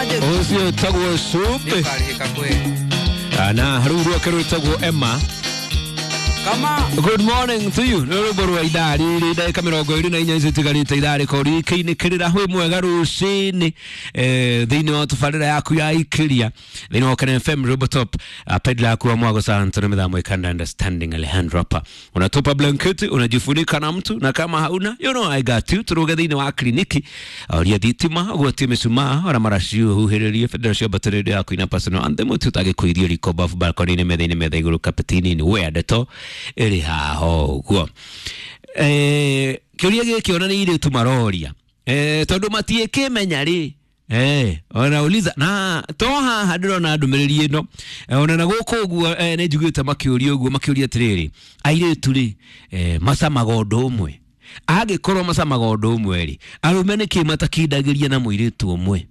Ũcio wĩtagwo Cumbĩ na rũu rwake rwĩtagwo Emma. Good morning to you. Nĩ rwĩmbo rwa ithaa rĩrĩ ndagĩka 24 icio itigarĩte ithaa rĩkorwo rĩkĩinĩkĩrĩra hwĩ mwega rũcinĩ thĩinĩ wa tũbarĩra yaku ya ikĩria thĩinĩ wa Kenya FM Robo Top pedla yaku wa mwago sana tuna midhamu ikanda understanding Alejandro hapa unatupa blanketi unajifunika na mtu na kama hauna you know I got you turuge thĩinĩ wa kliniki oria thitima ũgwatie mĩcumaa ona maraci ũhuhĩrĩrie bendera cia mbatĩrĩrio yaku ina personal anthem tũtagĩkũirio riko bafu balcony-inĩ metha-inĩ metha igũrũ kapeti-inĩ wea ndeto ĩrĩ haha ũguo. Kĩũria gĩkĩ ona nĩ irĩtu maroria tondũ matiĩkĩmenya rĩ ona uliza na to haha ndĩrona ndũmĩrĩri ĩno ona na gũkũ ũguo nĩ njiguĩte makĩũria ũguo makĩũria atĩrĩrĩ airĩtu rĩ macamaga ũndũ ũmwe angĩkorwo macamaga ũndũ ũmwe rĩ arũme nĩkĩ matakindagĩria na mũirĩtu ũmwe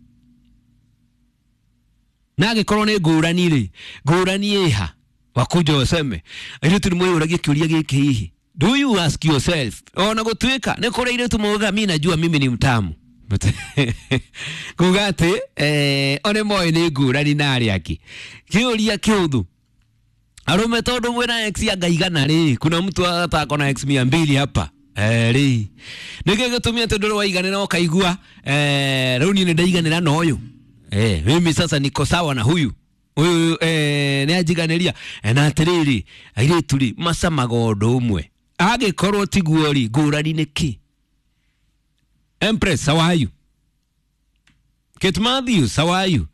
na angĩkorwo nĩ ngũrani rĩ ngũrani ĩha wakuja waseme airĩtu nĩ mwĩyũragia kĩũria gĩkĩ hihi do you ask yourself ona gũtuĩka nĩ kũrĩ airĩtu maugaga mi najua mimi ni mtamu kuga atĩ one moĩ nĩ ngũrani na arĩa angĩ kĩũria kĩũthũ arũme tondũ mwĩna ex anga igana rĩ kuna mtu atako na ex 200 hapa rĩ nĩkĩ gĩtũmia atĩ ndũrĩ waiganĩra ũkaigua rĩu niĩ nĩ ndaiganĩra na ũyũ mimi sasa niko sawa na huyu huyu nĩ anjiganĩria na atĩrĩrĩ airĩtu rĩ macamaga ũndũ ũmwe angĩkorwo tiguo rĩ ngũrani nĩ kĩ Empress, how are you? Kate Matthews, how are you?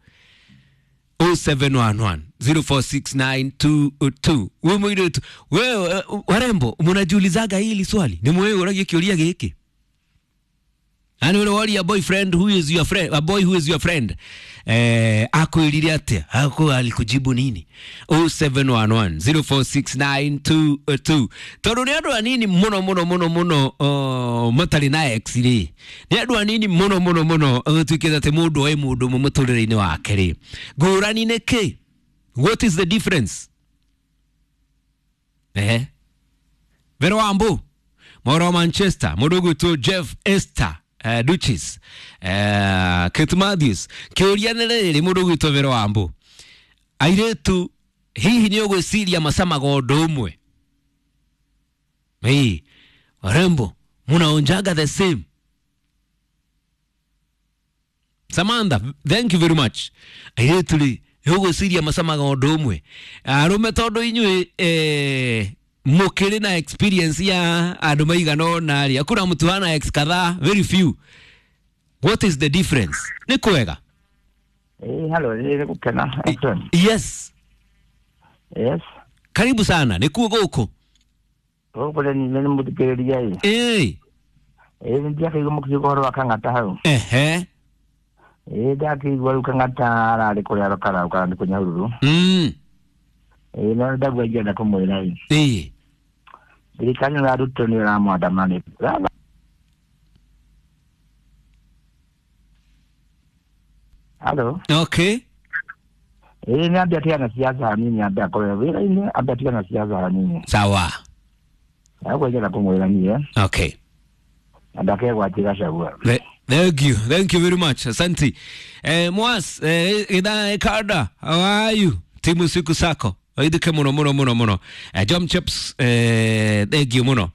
0711 046922. Wewe mwiritu, wewe warembo, mnajiulizaga hili swali? Ni mwewe uragie kĩũria gĩkĩ. Ani ule wali a boyfriend who is your friend, a boy who is your friend. Akwĩrire atĩa? Ako alikujibu nini? 0711 046922. Tondũ nĩ andũ anini mũno mũno mũno mũno matarĩ na ex rĩ. Nĩ andũ anini mũno mũno mũno gũtuĩkĩte atĩ mũndũ oĩ mũndũ ũmwe mũtũrĩre-inĩ wake rĩ. Ngũrani nĩ kĩ? What is the difference? Vero Wambu, Moro Manchester, mũndũ ũgwĩtwo Jeff Esther Duchess, Kate Matthews. Kĩũria nĩ rĩrĩ mũndũ ũgwĩtwo Vero Wambu, airĩtu hihi nĩ ũgwĩciria macamaga ũndũ ũmwe? Hii warembo munaonjaga the same. Samantha, thank you very much. Airĩtu rĩ ũgwĩciria macamaga ũndũ ũmwe? Arũme tondũ inyuĩ mukiri na experience ya andũ maigana ũna rĩ hakuna mtu hana ex kadhaa, very few. What is the difference? Nĩ kwega? Hello, nĩ gũkena. Yes. Yes. Karibu sana, nĩ kuo gũkũ? Gũkũ nĩ mũthikĩrĩria ĩ. Nĩ ndiakĩigua mũkiuga ũhoro wa Kang'ata hau. Ndakĩigua rĩu Kang'ata ararĩ kũrĩa karauka nĩ kũnyahururu. No ndagua ingĩenda kũmwĩra ĩ. Thirikari ya Ruto nĩ ĩramwandama. Hello. Okay. Nĩ ambia tigana siasa hanini, ambia akorwo wĩra-inĩ, ambia tigana siasa hanini. Sawa. Ndagua ingĩenda kũmwĩra niĩ. Okay. Na ndakegwatia Gachagua. Thank you. Thank you very much. Asante. Mwas, idhaa Kada, how are you? Timu siku sako. Waithike mũno mũno mũno mũno. Jom Chips, thank you mũno.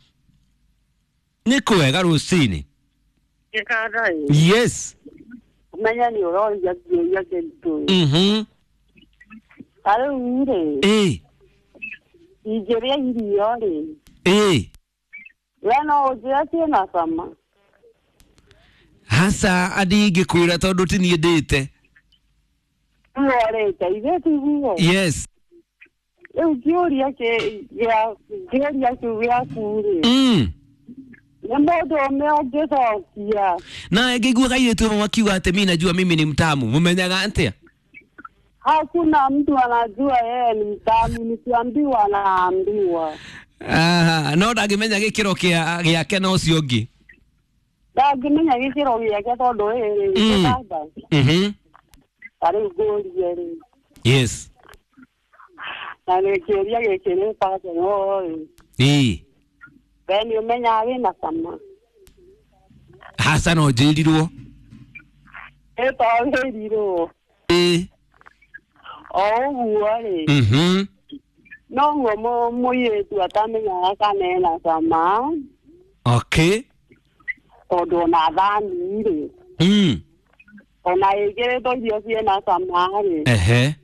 Nĩ kwega rũcinĩ? Yes. Menya nĩ ũroria kĩũria kĩritũ. Ta rĩu rĩ, ingĩrĩa irio rĩ, we no ũnjĩre ciĩna cama? Hasa andingĩkwĩra tondũ ti niĩ ndĩte. Ũrĩte ithuĩ tiguo? Yes. Rĩu kĩũria kĩu gĩaku rĩ, nĩ mũndũ ũmwe ũngĩcokia. Na ngĩigua kairĩtu amwe makiuga atĩ mi najua mimi ni mtamu, mũmenyaga atĩa? Hakuna mtu anajua yeye ni mtamu, nikiambiwa anaambiwa. No ndangĩmenya gĩkĩro gĩake na ũcio ũngĩ. Ndangĩmenya gĩkĩro gĩake tondũ ĩrĩ ta rĩu ngũrie rĩ. Yes. Na nĩ kĩũria gĩkĩ nĩ personal rĩ. We nĩ ũmenyaga wĩna cama? Hasa no njĩrirwo. Ĩtagĩrirwo. Ĩ. O ũguo rĩ. Noguo mũirĩtu atamenyaga kana ena cama. Okay. Tondũ ona thani rĩ. Ona ĩkĩrĩtwo irio ciĩna cama rĩ. Ehe.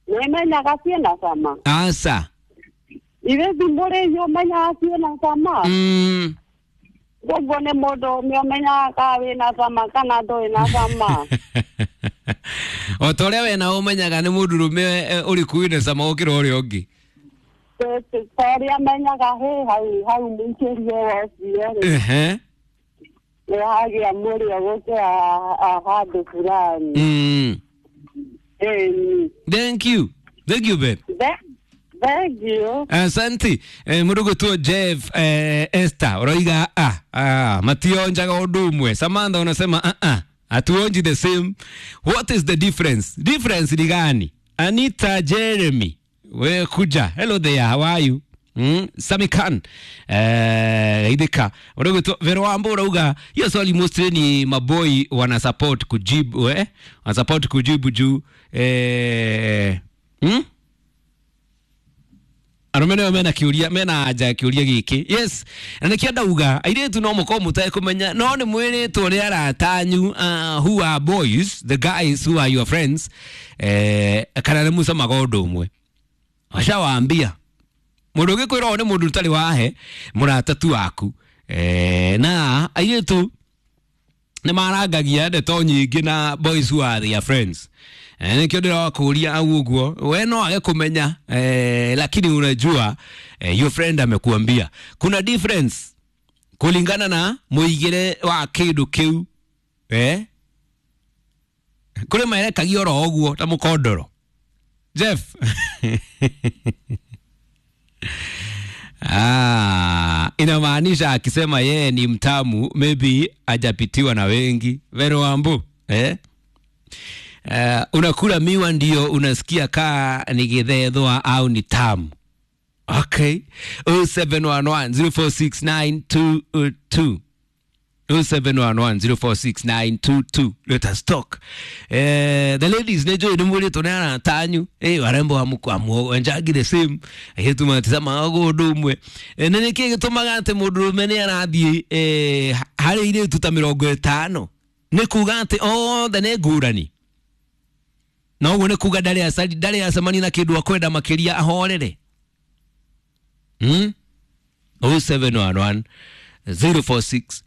Nĩmenyaga ciĩna cama. Asa. Ithe ti mũrĩi ũmenyaga ciĩna cama. Koguo nĩ mũndũ ũmwe ũmenyaga kana wĩna cama kana ndũrĩ na cama. O ta ũrĩa we na ũmenyaga nĩ mũndũrũme ũrĩkũ wĩna cama gũkĩra ũrĩa ũngĩ. Ta ũrĩa menyaga hĩ hau hau mũikĩrie wa ũcio rĩ. Ehe. Nĩ hagĩa mũrĩo gũkĩra handũ fulani. Ĩni. Thank you. Thank you, babe. Thank you. Asante. Mũndũ Jeff Esther ũroiga mationjaga ũndũ ũmwe. Samantha unasema hatuonji the same. What is the difference? Difference ni gani? Anita Jeremy, we kuja. Hello there, how are you? Sami Khan idhika ũrauga Vero Wambo ũrauga hiyo swali mostly ni maboi wana support kujibu wana support kujibu juu arũme nĩo mena kĩũria mena anja ya kĩũria gĩkĩ. Yes, na nĩkĩo ndauga airĩtu no mũkorwo mũtekũmenya no nĩ mwĩrĩtwo nĩ arata anyu, who are boys, the guys who are your friends, kana nĩ mũcamaga ũndũ ũmwe. Washawaambia mũndũ ũngĩkwĩra ũũ nĩ mũndũ ũtarĩ wahe mũrata tu waku. Na airĩtu nĩ marangagia ndeto nyingĩ na boys who are their friends. Nĩkĩo ndĩrakũria au ũguo we no age kũmenya, lakini unajua your friend amekuambia kuna difference kulingana na mũigĩre wa kĩndũ kĩu. Kũrĩ merekagia oro ũguo ta mũkondoro Jeff. Inamaanisha akisema yeye ni mtamu maybe hajapitiwa na wengi. Vero Wambu, unakula miwa ndio unasikia kaa ni githethwa au ni tamu. Okay. 0711 046922, 0711 046922. Let us talk. The ladies nejo ni mwĩrĩtwo nĩ arata anyu, warembo amuenjangi the same airĩtu maticamaga ũndũ ũmwe. Na nĩkĩ gĩtũmaga atĩ mũndũrũme nĩ arathiĩ harĩ airĩtu ta 50? Nĩ kuga atĩ othe nĩ ngũrani? Na ũguo nĩ kuga ndarĩ acemania na kĩndũ akwenda makĩria ahorere. 0711 046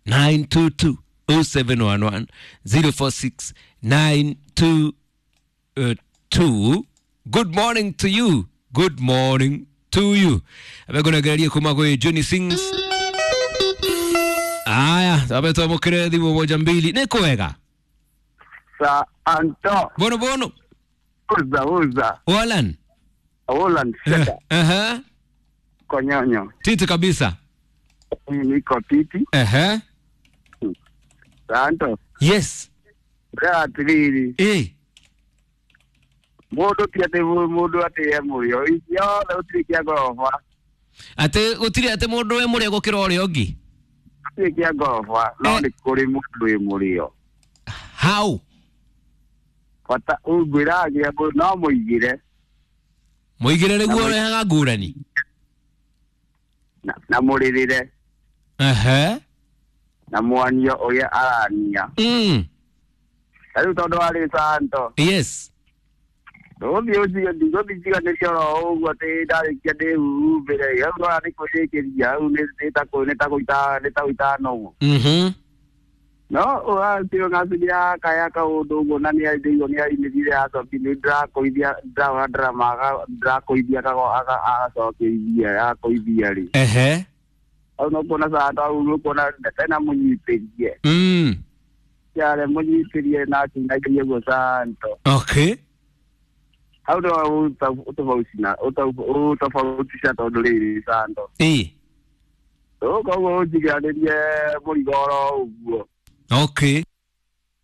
922, 0711 046 922. Good morning to you. Good morning to you. Abegonegererie kuma gwĩ Johnny Sings. Aya, tabe twamũkĩre thimũ moja mbili. Nĩ kwega? Sa Anto. Bono bono. Uza uza. Walan. Walan seta. Konyonyo. Titi kabisa. Niko titi. Sa Anto. Yes. Atĩrĩrĩ. Mũndũ ti atĩ mũndũ atĩ e mũrĩo. Ciothe gũtirĩ kĩa ngoroba. Atĩ gũtirĩ atĩ mũndũ e mũrĩo gũkĩra ũrĩa ũngĩ? Gũtirĩ kĩa ngoroba, no nĩ kũrĩ mũndũ wĩ mũrĩo. How? Bata ngwĩragia no mũigĩre. Mũigĩre nĩguo ũrehaga ngũrani? Na mũrĩrĩre. Na mwanio ũrĩa arania. Rĩu tondũ warĩ Santo. Yes. Ndũgũthiĩ ũtige ndigũthiĩ njiganĩrie oro ũguo atĩ ndarĩkia ndĩhumbĩre. Hau ndona nĩ kwĩrĩkĩria hau nĩ ta gũita nũgũ. No ũratio ngaciria kaya kaũndũ ũguo na nĩ ndĩigua nĩ arinĩrire acoki nĩ ndĩrakũithia ndĩrahũra ndarama ndĩrakũithia agacokia akũithia rĩ. Hau no kuona Santo hau no kuona tena mũnyitĩrie. Yare mũnyitĩrie na akĩinagia ũguo Santo. Okay. Hau no ũtofautisha tondũ rĩrĩ Santo. Koguo ũnjiganĩrie mũrigo oro ũguo. Okay.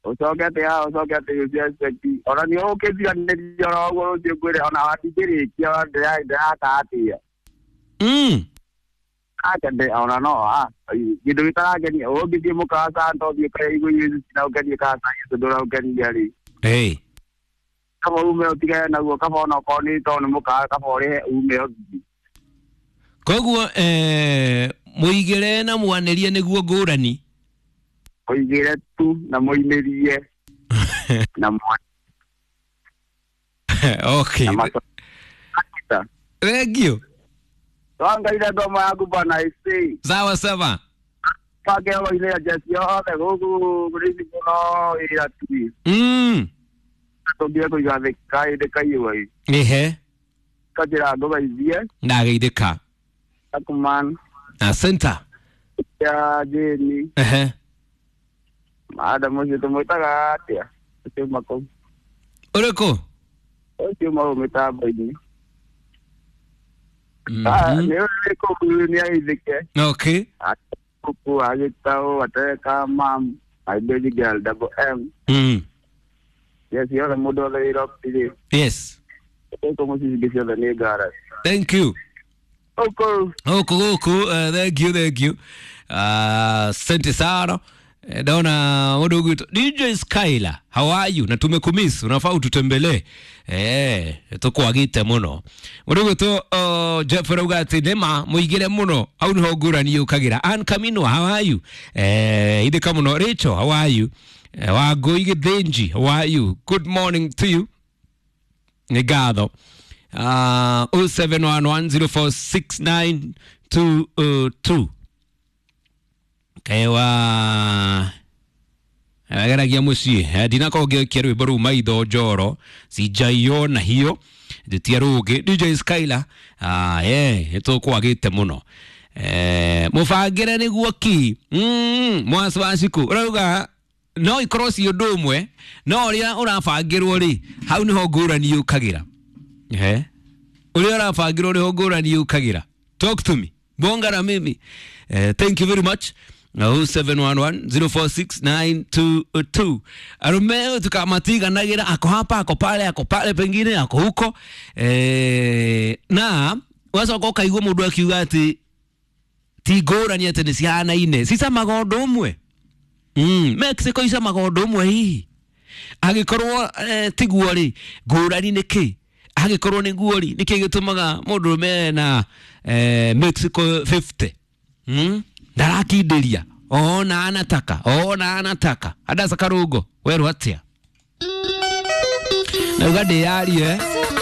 Ũcoke atĩ haha ũcoke atĩ ũcio expect ona nĩ ũkĩnjiganĩria oro ũguo rũciũ ngwĩre ona ndingĩrĩkia ndĩraka atĩa. Akende ona no kindu gĩtarangenia ũngĩthiĩ mũkawa to thiĩ ũkarĩa irio icio ciraũkenia kana cai ũcio ndũraũkenia rĩ. Hey. Kaba ume ũtigane naguo, kaba ona okorwo nĩ tondũ nĩ mũkawa, kaba ũrĩhe ume ũthiĩ. Koguo mũigĩre na mwanĩrie nĩguo ngũrani. Mũigĩre tu na mũinĩrie na mwa Okay. na Thank you. Twangaire ngoma yaku bana isi. Sawa sawa. Pange oile jesi yothe gũkũ rĩci mũno ĩra tu. Tũngire kũiga thĩ kaĩndĩ kaiyũa ĩ. Ehe. Kanjĩra ngũgeithie. Ndageithĩka. Akuman. Asante. Ya Jeni. Ehe. Madam ũcio tũmwĩtaga atĩa? Ũcio uma kũu. Ũrĩkũ? Ũcio uma kũu mĩtambo-inĩ. Nĩ ũrĩ kũu nĩ ageithĩke. Okay. Kuku agĩtaũ ateka mam. My baby girl double M. Yes, yothe mũndũ wothe wĩ Rock-rĩ. Yes. Gũkũ mũciĩ ingĩ ciothe nĩ ngara. Thank you. Gũkũ. Gũkũ gũkũ, thank you, thank you. Asante sana. Naona mũndũ ũgwĩtwo DJ Skylar, how are you? Na tumekumiss, unafaa ututembelee. Tũkwagĩte mũno. Mũndũ ũgwĩtwo Jeff arauga atĩ nĩma mũigĩre mũno, hau nĩho ngũrani yũkagĩra. Ann Kaminwa, how are you? Ithĩka mũno. Rachel, how are you? Wangũi Gĩthĩnji, how are you? Good morning to you. Nĩ ngatho. 0711046922. Kewa ageragia muciĩ ndinakorwo ngĩokia rwĩmbo rũu maitho njoro sinjaiona hiyo njĩtia rũngĩ DJ Skylar nĩtũkwagĩte mũno mũbangĩre nĩguo ki mwaci wa ciku ũrauga no ikorwo ci ũndũ ũmwe no ũrĩa ũrabangĩrwo rĩ hau nĩho ngũrani yũkagĩra. Ũrĩa ũrabangĩrwo nĩho ngũrani yũkagĩra. Talk to me, bonga na mimi. Thank you very much. 0711046922. Arume tukamatiganagĩra ako hapa ako pale ako pale pengine ako huko na wacoka ũkaigua mũndũ akiuga atĩ ti ngũrani atĩ nĩ cihanaine cicamaga ũndũ ũmwe. Mexico icamaga ũndũ ũmwe hihi angĩkorwo tiguo rĩ ngũrani nĩ kĩ? Angĩkorwo nĩguo rĩ nĩkĩ gĩtũmaga mũndũrũme na Mexico 50 ndarakindĩria ona anataka ona anataka Adasa Karungo werwo atĩa nauga ndĩyarie.